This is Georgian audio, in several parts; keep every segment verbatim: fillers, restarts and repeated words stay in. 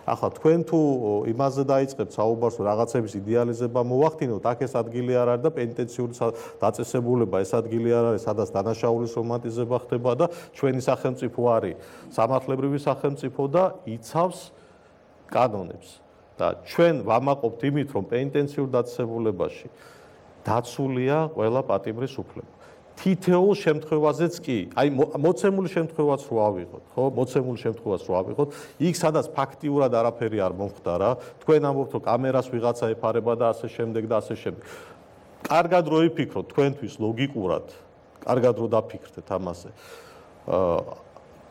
ახლა თქვენ თუ იმაზე დაიწყებთ საუბარს, რომ რაღაცების იდეალიზება მოვახდინოთ, აქ ეს ადგილი არ არის და პენიტენციური დაწესებულება ეს ადგილი არ არის, სადაც დანაშაულის რომანტიზება ხდება და ჩვენი სახელმწიფო არის სამართლებრივი სახელმწიფო და იცავს კანონებს. და ჩვენ ვამაყობთ იმით, რომ პენიტენციურ დაწესებულებაში დაცულია ყველა პატიმრის უფლება. თითოეულ შემთხვევაზეც კი, აი მოცემული შემთხვევაც რო ავიღოთ, ხო? მოცემული შემთხვევაც რო ავიღოთ, იქ სადაც ფაქტიურად არაფერი არ მომხდარა, თქვენ ამბობთ, რომ კამერას ვიღაცა ეფარება და ასე შემდეგ და ასე შემდეგ. კარგად რო იფიქროთ, თქვენთვის ლოგიკურად, კარგად რო დაფიქრდეთ ამაზე. აა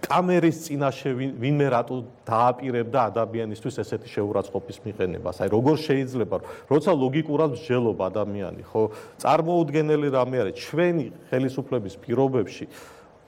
კამერის წინაშე ვინმე რატო დააპირებდა ადამიანისთვის ესეთი შეურაცხყოფის მიყენებას? აი როგორ შეიძლება, როცა ლოგიკურად მსჯელობ ადამიანი, ხო? წარმოუდგენელი რამე არის ჩვენი ხელისუფლების პირობებში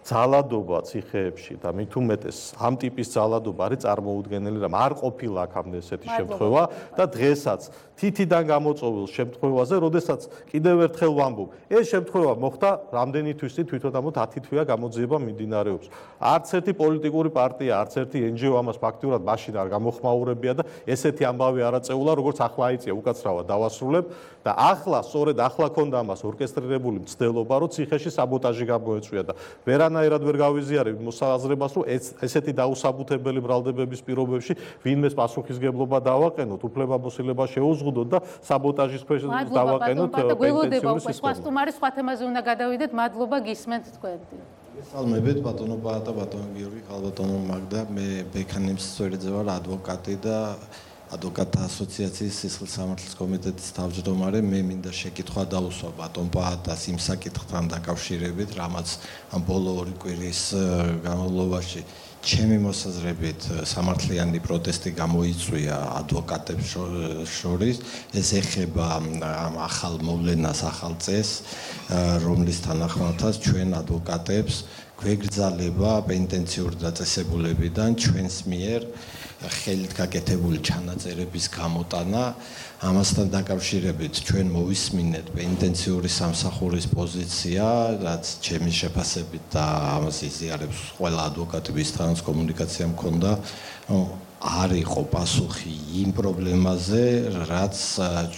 ძალადობა ციხეებში და მით უმეტეს ამ ტიპის ძალადობა არის წარმოუდგენელი რამე. არ ყოფილა აქამდე ესეთი შემთხვევა და დღესაც თითიდან გამოწვეულ შემთხვევაზე, როდესაც კიდევ ერთხელ ვამბობ, ეს შემთხვევა მოხდა რამდენი თვის წინ თვითონ ამოთ ათი თვეა გამოძიება მიმდინარეობს. არც ერთი პოლიტიკური პარტია, არც ერთი en ge o ამას ფაქტიურად მაშინ არ გამოხმაურებია და ესეთი ამბავი არ აწეულა, როგორც ახლა აიწია უკაცრავად დავასრულებ და ახლა, სწორედ ახლა ქონდა ამას ორკესტრირებული მცდელობა, რომ ციხეში საბოტაჟი გამოეწვია და ვერანაირად ვერ გავიზიარებ მოსაზრებას, რომ ესეთი დაუსაბუთებელი ბრალდებების პირობებში ვინმეს პასუხისგებლობა დავაყენოთ, უფლებამოსილება შეუზღუდოთ და საბოტაჟის ქვეშ დავაყენოთ პენიტენციური სისტემა. სხვა სტუმარი სხვა თემაზე უნდა გადავიდეთ. მადლობა, გისმენთ თქვენ. გესალმებით ბატონო ბატა ბატონო გიორგი ხალბატონო მაგდა მე ბექანიმს სწორედზე ვარ ადვოკატი და ადვოკატთა ასოციაციის სისხლის სამართლის კომიტეტის თავმჯდომარე. მე მინდა შეკითხვა დაუსვა ბატონ პაატას იმ საკითხთან დაკავშირებით, რამაც ამ ბოლო ორი კვირის განმავლობაში ჩემი მოსაზრებით სამართლიანი პროტესტი გამოიწვია ადვოკატებს შორის. ეს ეხება ამ ახალ მოვლენას, ახალ წესს, რომლის თანახმადაც ჩვენ ადვოკატებს გვეგრძალება პენიტენციური დაწესებულებიდან ჩვენს მიერ ხელით გაკეთებული ჩანაწერების გამოტანა. ამასთან დაკავშირებით ჩვენ მოვისმინეთ პენიტენციური სამსახურის პოზიცია, რაც ჩემი შეფასებით და ამას იზიარებს ყველა ადვოკატი, ვისთანაც კომუნიკაცია მქონდა, არ იყო პასუხი იმ პრობლემაზე, რაც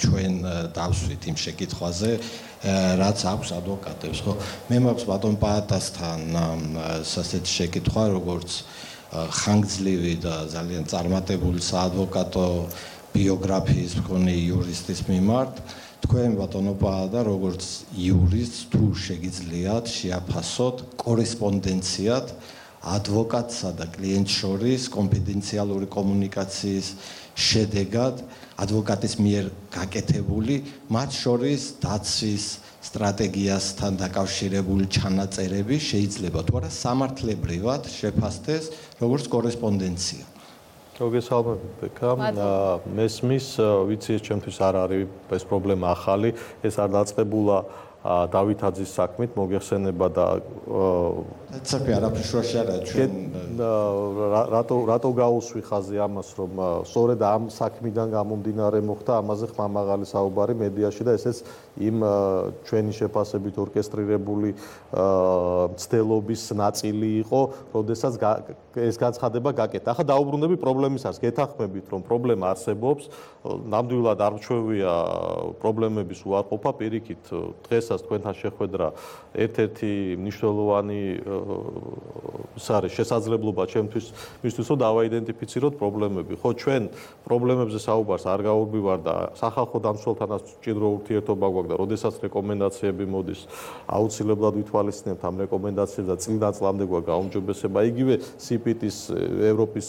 ჩვენ დავსვით იმ შეკითხვაზე, რაც აქვს ადვოკატებს, ხო? მე მაქვს ბატონ პაატასთან ასეთი შეკითხვა, როგორც ხანგრძლივი და ძალიან წარმატებული საადვოკატო ბიოგრაფიის მქონე იურისტის მიმართ, თქვენ ბატონო პაატა, როგორც იურისტს, თუ შეგიძლიათ შეაფასოთ კორესპონდენციად ადვოკატსა და კლიენტს შორის კონფიდენციალური კომუნიკაციის შედეგად ადვოკატის მიერ გაკეთებული, მათ შორის დაცვის სტრატეგიასთან დაკავშირებული ჩანაწერები შეიძლება თუ არა სამართლებრივად შეფასდეს როგორც კორესპონდენცია. მოგესალმებით ბექა. მესმის, ვიცი ეს ჩემთვის არ არის ეს პრობლემა ახალი, ეს არ დაწყებულა დავითაძის საქმით, მოგეხსენება და ცოტა არაფერს შუაში არა ჩვენ რატო რატო გაუსვი ხაზი ამას, რომ სწორედ ამ საქმიდან გამომდინარე მოხდა ამაზე ხმამაღალი საუბარი მედიაში და ესეც იმ ჩვენი შეფასებით ორკესტრირებული მცდელობის ნაწილი იყო, როდესაც ეს განცხადება გაკეთა. ახლა დაუბრუნდები პრობლემისას, გეთანხმებით, რომ პრობლემა არსებობს, ნამდვილად არ მჩვევია პრობლემების უარყოფა, პირიქით დღესაც თქვენთან შეხვედრა ერთ-ერთი მნიშვნელოვანი ის არის შესაძლებლობა ჩემთვის, მისთვის რომ დავაიდენტიფიციროთ პრობლემები. ხო, ჩვენ პრობლემებზე საუბარს არ გავუგვივარ და სახალხო დამცველთანაც მჭიდრო ურთიერთობა გვაქვს და როდესაც რეკომენდაციები მოდის, აუცილებლად ვითვალისწინებთ ამ რეკომენდაციებს და წლიდან წლამდე გვაქვს გაუმჯობესება. იგივე სიპიტის ევროპის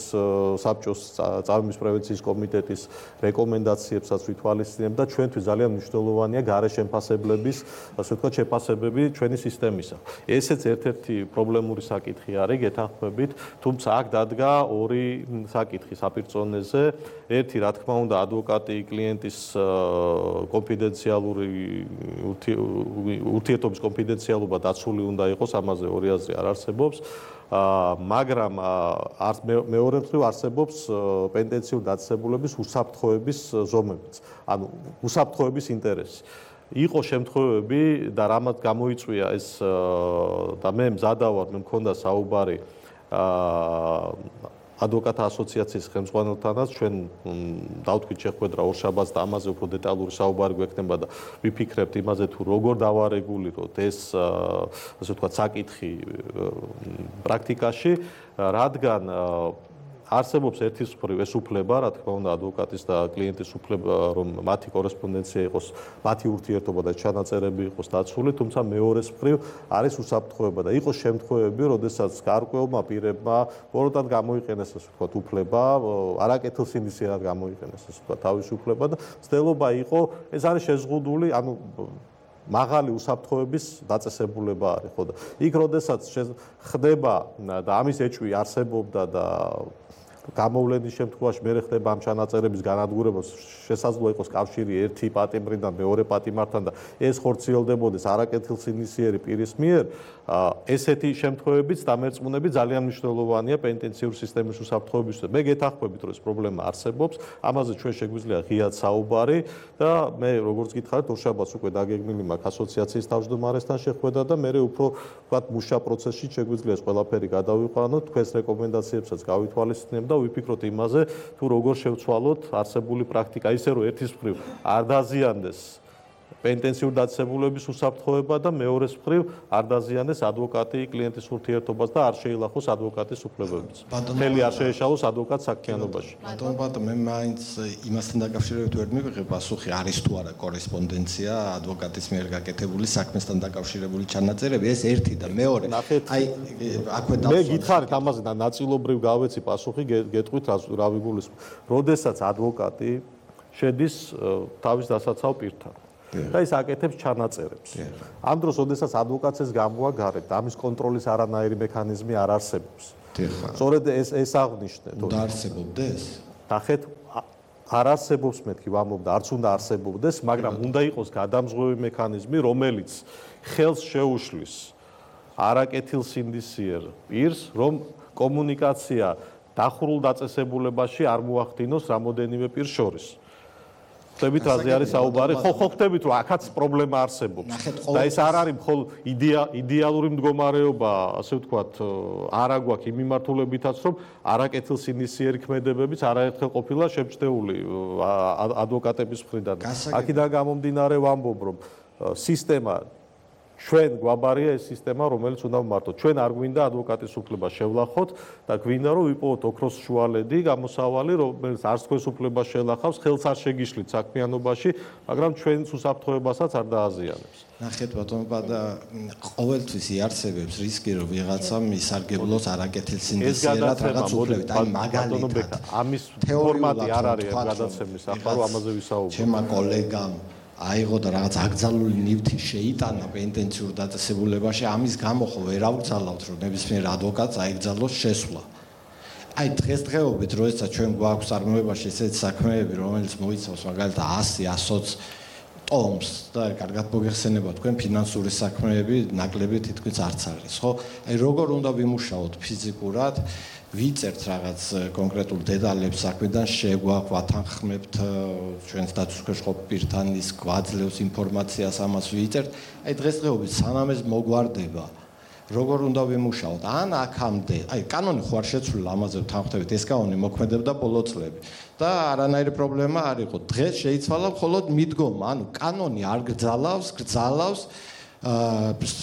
საბჭოს წამების პრევენციის კომიტეტის რეკომენდაციებსაც ვითვალისწინებთ და ჩვენთვის ძალიან მნიშვნელოვანია გარეშემფასებლების, ასე ვთქვათ, შეფასებები ჩვენი სისტემისა. ესეც ერთ-ერთი პრობლემური საკითხი არის, გეთანხმებით, თუმცა აქ დადგა ორი საკითხი საპირწონეზე. ერთი, რა თქმა უნდა, ადვოკატი კლიენტის კონფიდენციალური ურთიერთობის კონფიდენციალობა დაცული უნდა იყოს, ამაზე ორი აზრი არ არსებობს. მაგრამ მეორე მხრივ არსებობს პენიტენციური დაწესებულების უსაფრთხოების ზომებიც, ანუ უსაფრთხოების ინტერესი. იყო შემთხვევები და რამაც გამოიწვია ეს და მე მზადა ვარ, მე მქონდა საუბარი ადვოკატთა ასოციაციის ხელმძღვანელთანაც ჩვენ დავთქვით შეხვედრა ორშაბათს და ამაზე უფრო დეტალური საუბარი გვექნება და ვიფიქრებთ იმაზე თუ როგორ დავარეგულიროთ ეს ასე ვთქვათ საკითხი პრაქტიკაში, რადგან არსებობს ერთის მხრივ ეს უფლება, რა თქმა უნდა, ადვოკატის და კლიენტის უფლება, რომ მათი კორესპონდენცია იყოს, მათი ურთიერთობა და ჩანაწერები იყოს დაცული, თუმცა მეორეს მხრივ არის უსაფრთხოება და იყოს შემთხვევები, როდესაც გარკვეულმა პირებმა ბოროტად გამოიყენეს ეს ვთქვათ უფლება, არაკეთილსინდისიერად გამოიყენეს ეს ვთქვათ თავისი უფლება და ცდილობა იყო, ეს არის შეზღუდული, ანუ მაღალი უსაფრთხოების დაწესებულება არის, ხო და იქ როდესაც ხდება და ამის ეჭვი არსებობდა და გამოვლენის შემთხვევაში მე ხდება ამ ჩანაწერების განადგურება, შესაძლოა იყოს კავშირი ერთი პატიმრიდან მეორე პატიმართან და ეს ხორციელდებოდეს არაკეთილსინდისიერი პირის მიერ, ესეთი შემთხვევებიც დამერწმუნებით ძალიან მნიშვნელოვანია პენიტენციური სისტემის უსაფრთხოებისთვის. მე გეთანხმებით, რომ ეს პრობლემა არსებობს, ამაზე ჩვენ შეგვიძლია ღიად საუბარი და მე როგორც გითხარით, ორშაბათს უკვე დაგეგმილი მაქვს ასოციაციის თავმჯდომარესთან შეხვედრა და მე უფრო ვთქვათ მუშა პროცესში შეგვიძლია ეს ყველაფერი გადავიყვანოთ, თქვენს რეკომენდაციებსაც გავითვალისწინებთ და ვიფიქროთ იმაზე, თუ როგორ შევცვალოთ არსებული პრაქტიკა, ისე რომ ერთის მხრივ არ დაზიანდეს პენიტენციური დაწესებულების უსაფრთხოება და მეორეს მხრივ არ დაზიანდეს ადვოკატი კლიენტის ურთიერთობას და არ შეილახოს ადვოკატის უფლებებიც. ხელი არ შეეშალოს ადვოკატს საქმიანობაში. ბატონო, ბატონო, მე მაინც იმასთან დაკავშირებით ვერ მივიღე პასუხი, არის თუ არა კორესპონდენცია ადვოკატის მიერ გაკეთებული საქმესთან დაკავშირებული ჩანაწერები, ეს ერთი და მეორე. აი, აქვე დავსვამ. მე გითხარით ამაზე და ნაწილობრივ გავეცი პასუხი, გეტყვით რა ვიგულისხმობ. როდესაც ადვოკატი შედის თავის დასაცავ პირთან და ის აკეთებს ჩანაწერებს. ამ დროს, როდესაც ადვოკატს ეს გამოაგარებთ, ამის კონტროლის არანაირი მექანიზმი არ არსებობს. სწორედ ეს ეს აღნიშნეთ. უნდა არსებობდეს? ნახეთ, არ არსებობს მეთქი ვამბობ და არც უნდა არსებობდეს, მაგრამ უნდა იყოს გადამზღვევი მექანიზმი, რომელიც ხელს შეუშლის არაკეთილსინდისიერ პირს, რომ კომუნიკაცია დახურულ დაწესებულებაში არ მოახდინოს რამოდენიმე პირს შორის. ხდებით რაზე არის საუბარი? ხო, ხო ხდებით რომ აქაც პრობლემა არსებობს. და ეს არ არის მხოლოდ იდეალური მდგომარეობა, ასე ვთქვათ, არა გვაქვს იმ მიმართულებითაც, რომ არაკეთილსინდისიერი ქმედებებიც არაერთხელ ყოფილა შემჩნეული ადვოკატების მხრიდან. აქედან გამომდინარე ვამბობ, რომ სისტემა ჩვენ გვაბარია ეს სისტემა, რომელიც უნდა ვმართოთ. ჩვენ არ გვინდა ადვოკატის უფლება შევლახოთ და გვინდა რომ ვიპოვოთ ოქროს შუალედი, გამოსავალი, რომელიც არც თქვენს უფლებას შეელახავს, ხელს არ შეგიშლით საქმიანობაში, მაგრამ ჩვენს უსაფრთხოებასაც არ დააზიანებს. ნახეთ ბატონო, და ყოველთვის იარსებებს რისკი, რომ ვიღაცამ ისარგებლოს არაკეთილსინდისიერად რაღაც უფლებით. აი მაგალითად, ამის ფორმატი არ არის ამ გადაცემის, ახლა რომ ამაზე ვისაუბროთ. ჩემმა კოლეგამ აიღო და რაღაც აკრძალული ნივთი შეიტანა პენიტენციურ დაწესებულებაში, ამის გამო ხო ვერ ავგზავნავთ, რომ ნებისმიერ ადვოკატს აიგზავნოს შესვლა. აი დღესდღეობით, როდესაც ჩვენ გვაქვს წარმოებაში ესეთი საქმეები, რომელიც მოიცავს მაგალითად ასი ოცდაოც ტომს და კარგად მოგეხსენება თქვენ ფინანსური საქმეები ნაკლები თითქმის არც არის, ხო? აი როგორ უნდა ვიმუშაოთ ფიზიკურად? ვიწერთ რაღაც კონკრეტულ დეტალებს საქმედან, შეგვაქვს ვათანხმებთ ჩვენს დაცვის ყოფ პირთან ის გვაძლევს ინფორმაციას, ამას ვიწერთ. აი დღესდღეობით სანამ ეს მოგვარდება, როგორ უნდა ვიმუშაოთ? ან აქამდე, აი კანონი ხო არ შეცვლილა, ამაზე ვთანხმდებით, ეს კანონი მოქმედებდა ბოლო წლები და არანაირი პრობლემა არ იყო. დღეს შეიცვალა მხოლოდ მიდგომა, ანუ კანონი არ გრძალავს, გრძალავს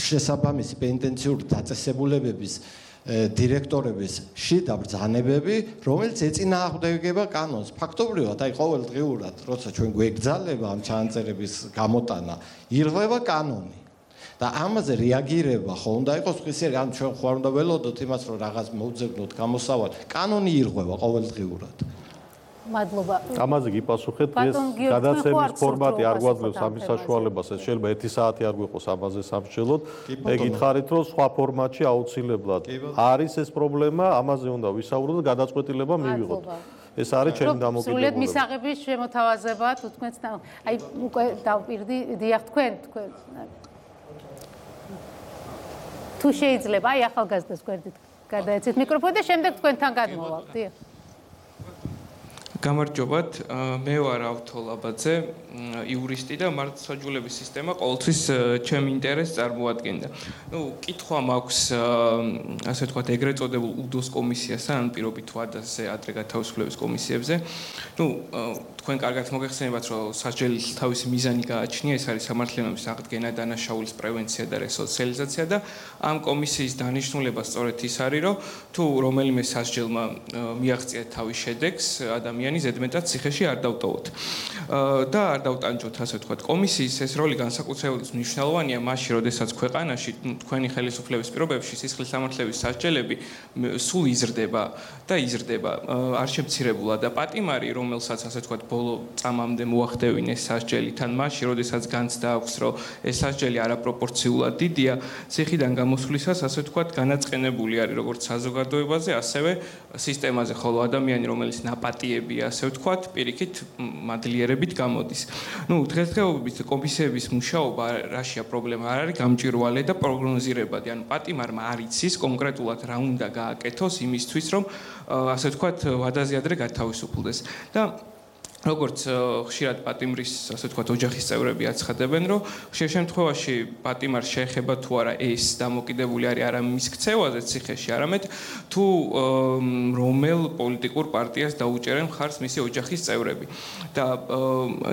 შესაბამისი პენიტენციური დაწესებულებების დირექტორების შიდა ბრძანებები, რომელიც ეწინააღმდეგება კანონს. ფაქტობრივად, აი ყოველდღიურად, როცა ჩვენ გვეგრძალება ამ ჩანაწერების გამოტანა, ირღვევა კანონი. და ამაზე რეაგირება ხო უნდა იყოს ხისერი, ან ჩვენ ხო არ უნდა ველოდოთ იმას, რომ რაღაც მოვძებნოთ გამოსავალი. კანონი ირღვევა ყოველდღიურად. მადლობა. ამაზე გიპასუხეთ, ეს გადაცემის ფორმატი არ გვაძლევს ამის საშუალებას, ეს შეიძლება ერთი საათი არ გვიყოს ამაზე სამშელოდ. მე გითხარით, რომ სხვა ფორმატში აუცილებლად არის ეს პრობლემა, ამაზე უნდა ვისაუბროთ და გადაწყვეტილება მივიღოთ. ეს არის ჩემი დამოკიდებულება. სრულიად მისაღების შემოთავაზება თუ თქვენს აი უკვე დავპირდი, დიახ თქვენ თქვენ თუ შეიძლება, აი ახალგაზრდას გვერდით გადაეცით მიკროფონი და შემდეგ თქვენთან გადმოვალ. დიახ. გამარჯობათ, მე ვარ ავთო ლაბაძე, იურისტი და მართლმსაჯულების სისტემა ყოველთვის ჩემ ინტერესს წარმოადგენდა. ნუ კითხვა მაქვს, ასე ვთქვათ, ეგრეთ წოდებულ უდოს კომისიასთან, ან პირობით ვადაზე ადრე გათავისუფლების კომისიებზე. ნუ თქვენ კარგად მოგეხსენებათ, რომ სასჯელის თავისი მიზანი გააჩნია, ეს არის სამართლიანობის აღდგენა, დანაშაულის პრევენცია და რესოციალიზაცია და ამ კომისიის დანიშნულება სწორედ ის არის, რომ თუ რომელიმე სასჯელმა მიაღწია თავის შედეგს, ადამიანი ზედმეტად ციხეში არ დავტოვოთ. და არ დავტანჯოთ, ასე ვთქვათ, კომისიის ეს როლი განსაკუთრებით მნიშვნელოვანია მაშინ, როდესაც ქვეყანაში თქვენი ხელისუფლების პირობებში სისხლის სამართლების სასჯელები სულ იზრდება და იზრდება, არ შემცირებულა და პატიმარი, რომელსაც ასე ვთქვათ, ბოლო წამამდე მოახდევინეს სასჯელი, თან მაშინ, როდესაც განცდა აქვს, რომ ეს სასჯელი არაპროპორციულად დიდია, ციხიდან გამოსვლისას, ასე ვთქვათ, განაწყენებული არის როგორც საზოგადოებაზე, ასევე სისტემაზე, ხოლო ადამიანი, რომელიც ნაპატიებია, ასე ვთქვათ, პირიქით მადლიერებით გამოდის. ნუ დღესდღეობით კომისიების მუშაობა რაშია პრობლემა არ არის გამჭვირვალე და პროგნოზირებადი. ანუ პატიმარმა არ იცის კონკრეტულად რა უნდა გააკეთოს იმისთვის, რომ ასე ვთქვათ, ვადაზე ადრე გათავისუფლდეს. და როგორც ხშირად პატიმრის, ასე ვთქვათ, ოჯახის წევრები აცხადებენ, რომ ხშირ შემთხვევაში პატიმარს შეეხება თუ არა ეს დამოკიდებული არის არა მის ქცევაზე ციხეში, არამედ თუ რომელ პოლიტიკურ პარტიას დაუჭერენ მხარს მისი ოჯახის წევრები. და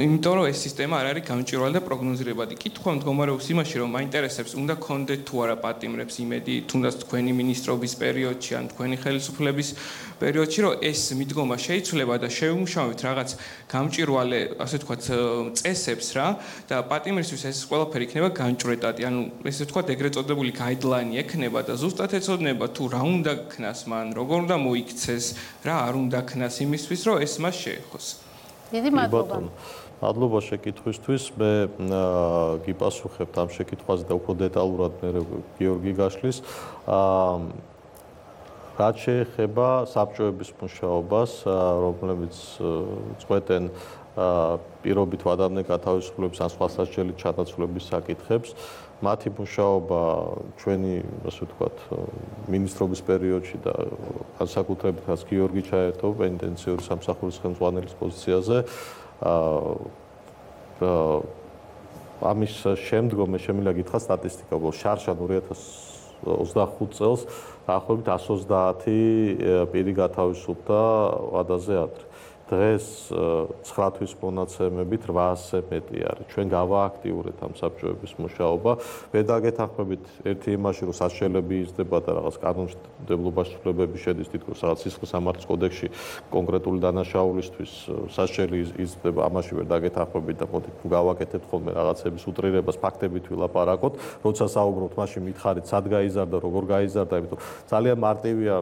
იმიტომ რომ ეს სისტემა არ არის გამჭვირვალე და პროგნოზირებადი. კითხვა მდგომარეობს იმაში, რომ მაინტერესებს, უნდა გქონდეთ თუ არა პატიმრებს იმედი, თუნდაც თქვენი მინისტრობის პერიოდში ან თქვენი ხელისუფლების პერიოდში, რომ ეს მიდგომა შეიცვლება და შევიმუშავებთ რაღაც გამჭვირვალე, ასე ვთქვათ, წესებს რა და პატიმრისთვის ეს ყველაფერი იქნება განჭვრეტადი. ანუ ესე ვთქვათ, ეგრეთ წოდებული გაიდლაინი ექნება და ზუსტად ეცოდნება თუ რა უნდა ქნას მან, როგორ უნდა მოიქცეს, რა არ უნდა ქნას იმისთვის, რომ ეს მას შეეხოს. დიდი მადლობა. მადლობა შეკითხვისთვის. მე გიპასუხებთ ამ შეკითხვაზე და უფრო დეტალურად მე გიორგი გაშლის. რაც შეეხება საბჭოების მუშაობას, რომლებიც წყვეტენ პირობით ვადამდე გათავისუფლების ან სხვა სასჯელით ჩანაცვლების საკითხებს, მათი მუშაობა ჩვენი, ასე ვთქვათ, მინისტრობის პერიოდში და განსაკუთრებით რაც გიორგი ჩაერთო პენიტენციური სამსახურის ხელმძღვანელის პოზიციაზე, ამის შემდგომ მე შემიძლია გითხრათ სტატისტიკა, შარშან ორი ათას ოცდახუთ წელს დაახლოებით εκατს ოცდაათი პირი გათავისუფლდა ვადაზე ადრე. დღეს ცხრა თვის მონაცემებით რვაასზე მეტი არის. ჩვენ გავააქტიურეთ ამ საბჭოების მუშაობა. ვერ დაგეთანხმებით ერთი იმაში, რომ სასჯელები იზრდება და რაღაც კანონმდებლობაში ცვლილებები შედის თითქოს რაღაც სისხლის სამართლის კოდექსში კონკრეტული დანაშაულისთვის სასჯელი იზრდება, ამაში ვერ დაგეთანხმებით და მოდით გავაკეთებთ ხოლმე რაღაცების უტრირებას, ფაქტებით ვილაპარაკოთ. როცა საუბრობთ, მაშინ მითხარით, სად გაიზარდა, როგორ გაიზარდა, იმიტომ ძალიან მარტივია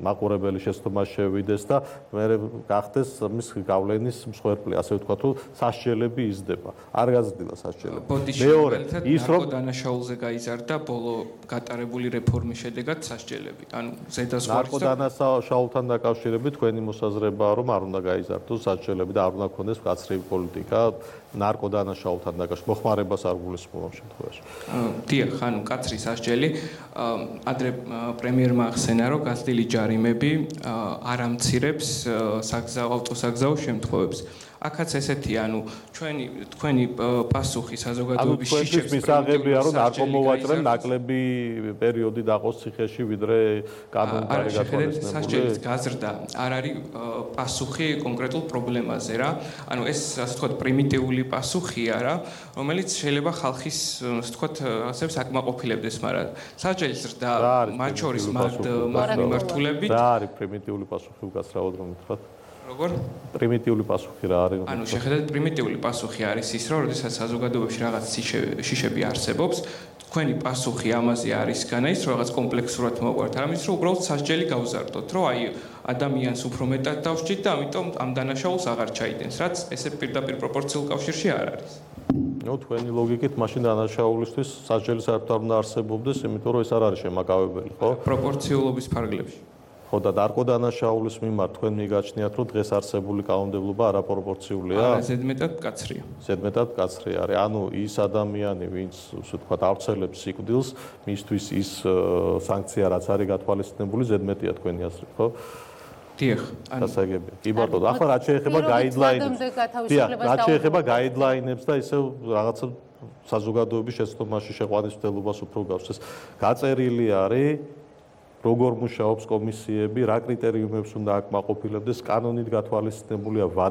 მაყურებელი შეცდომა შევიდეს და მე გახდეს გავლენის მსხვერპლი, ასე ვთქვათ, რომ სასჯელები იზრდება. არ გაზრდილა სასჯელები. მეორე, ის რომ დანაშაულზე გაიზარდა ბოლო გატარებული რეფორმის შედეგად სასჯელები. ანუ ზედაზღვარი ნარკოდანაშაულთან დაკავშირებით თქვენი მოსაზრებაა, რომ არ უნდა გაიზარდოს სასჯელები და არ უნდა ქონდეს მკაცრი პოლიტიკა ნარკოდანაშაულთან დაკავშირებით. მოხმარებას არ გულისხმობ ამ შემთხვევაში. დიახ, ანუ მკაცრი სასჯელი, ადრე პრემიერმა ახსენა, რომ გაზრდილი ჯარიმები არ ამცირებს საგზაო ავტოსაგზაო შემთხვევებს. აქაც ესეთი, ანუ ჩვენი თქვენი პასუხი საზოგადოების შიშებს მისაღებია, რომ ნარკომოვაჭრემ ნაკლები პერიოდი დაყოს ციხეში, ვიდრე კანონთან გათვალისწინებული. სასჯელის გაზრდა არ არის პასუხი კონკრეტულ პრობლემაზე რა. ანუ ეს, ასე ვთქვათ, პრიმიტიული პასუხია რა, რომელიც შეიძლება ხალხის, ასე ვთქვათ, ასეებს აკმაყოფილებდეს, მაგრამ სასჯელის ზრდა მათ შორის მიმართულებით რა არის პრიმიტიული პასუხი უკაცრავად რომ ვთქვათ? როგორ? პრიმიტიული პასუხი რა არის? ანუ შეხედეთ, პრიმიტიული პასუხი არის ის, რომ როდესაც საზოგადოებაში რაღაც შიშები არსებობს, თქვენი პასუხი ამაზე არის განაის, რომ რაღაც კომპლექსურად მოყვართ, ამის რომ უბრალოდ სასჯელი გავზარდოთ, რომ აი ადამიანს უფრო მეტად დავსჯით და ამიტომ ამ დანაშაულს აღარ ჩაიდენს, რაც ესე პირდაპირ პროპორციულ კავშირში არ არის. ნუ თქვენი ლოგიკით მაშინ დანაშაულისთვის სასჯელი საერთოდ არ უნდა არსებობდეს, იმიტომ რომ ეს არ არის შემაკავებელი, ხო? პროპორციულობის ფარგლებში. ხო და ნარკოდანაშაულის მიმართ თქვენ მიგაჩნიათ, რომ დღეს არსებული კანონმდებლობა არაპროპორციულია? არა, ზედმეტად მკაცრია. ზედმეტად მკაცრი არის. ანუ ის ადამიანი, ვინც, ასე ვთქვათ, ავრცელებს სიკვდილს, მისთვის ის სანქცია, რაც არის გათვალისწინებული, ზედმეტია თქვენი აზრით, ხო? დიახ. დასაგებია. კი ბატონო, ახლა რაც შეეხება პირობით გაიდლაინებს. ვადამდე დიახ, გათავისუფლებას რაც შეეხება დაუბრუნდეთ. გაიდლაინებს და ისევ რაღაცა საზოგადოების შეცდომაში შეყვანის მცდელობას უფრო გავს. ეს გაწერილი არის როგორ მუშაობს კომისიები, რა კრიტერიუმებს უნდა აკმაყოფილებდეს, კანონით გათვალისწინებულია ვადები